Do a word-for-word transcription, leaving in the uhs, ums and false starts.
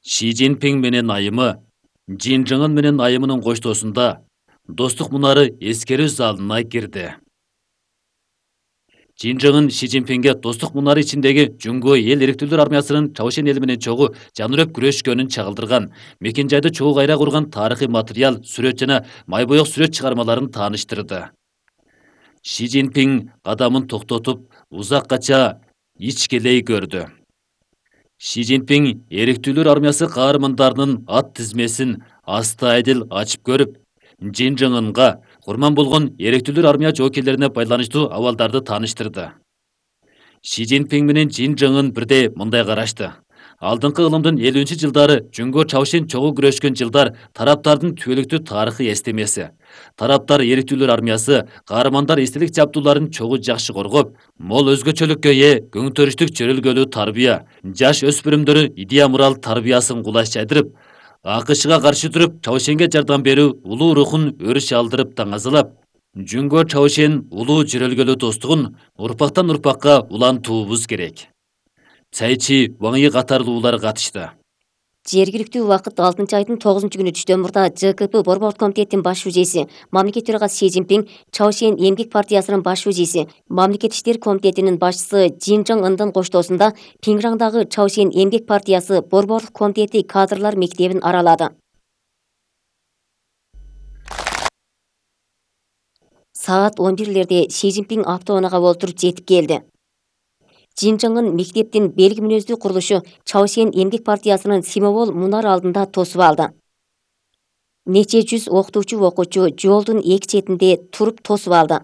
Ши Цзиньпин менен айымы, Жин Чжыңын менен айымынын коштоосунда достук мунары эскерүү залына кирди. Жин Чжыңын Ши Цзиньпинге достук мунары ичиндеги Жуңго эл эрктүүлөр армиясынын Чаошен эли менен чогуу жанырөп күрөшкөнүн чагылдырган, мекен жайды чогуу кайра курган тарыхый материал, сүрөт жана майбоек сүрөт чыгармаларын тааныштырды. Ши Цзиньпин кадамын токтотуп, узаккача ичкелей көрдү. Ши Цзиньпин эрктүүлөр армиясы каармандарынын ат тизмесин астайдыл ачып көрүп, Жин Чжыңынга курман болгон эрктүүлөр армия жоокерлерине байланыштуу абалдарды тааныштырды. Ши Цзиньпин менен Жин Чжыңын бирдей мындай карашты. Алдыңкы ылымдын элүүнчү жылдары Жуңго Чаошен чогуу күрөшкөн жылдар тараптардын түбөлүктүү тарыхый эстемеси. Тараптар эрктүүлөр армиясы каармандар эстелик жабдууларын чогуу жакшы коргоп, мол өзгөчөлүккө ээ көңтөрүштүк жөрөлгөлүү тарбия, жаш өспүрүмдөрү идея мурал тарбиясын кулаш жайдырып, АКШга каршы туруп, Чаошенге жардам берүү улуу рухун өрүш алдырып таңазалап, Жуңго Чаошен улуу жөрөлгөлүү достугун урпактан урпакка улантуубуз керек. Цайчи Ваң Йи катарлуулар катышты. Жергиликтүү убакыт алтынчы айдын тогузунчу күнү түштөн мурда ЖКП Борбордук комитеттин баш шужеси, мамлекет төрагасы Ши Цзиньпин, Чаошен эмгек партиясынын баш шужеси, мамлекет иштер комитетинин башчысы Жин Чжыңындын коштоосунда Пиңраңдагы Чаошен эмгек партиясы Борбордук комитети кадрлар мектебин аралады. Саат он бирлерде Ши Цзиньпин автоунаага олтуруп жетип келди. Жин Чжыңын мектептин белги мүнөздүү курулушу Чаошен эмгек партиясынын Симовол мунар алдында тосуп алды. Нече жүз окутуучу окуучу жолдун эки четинде туруп тосуп алды.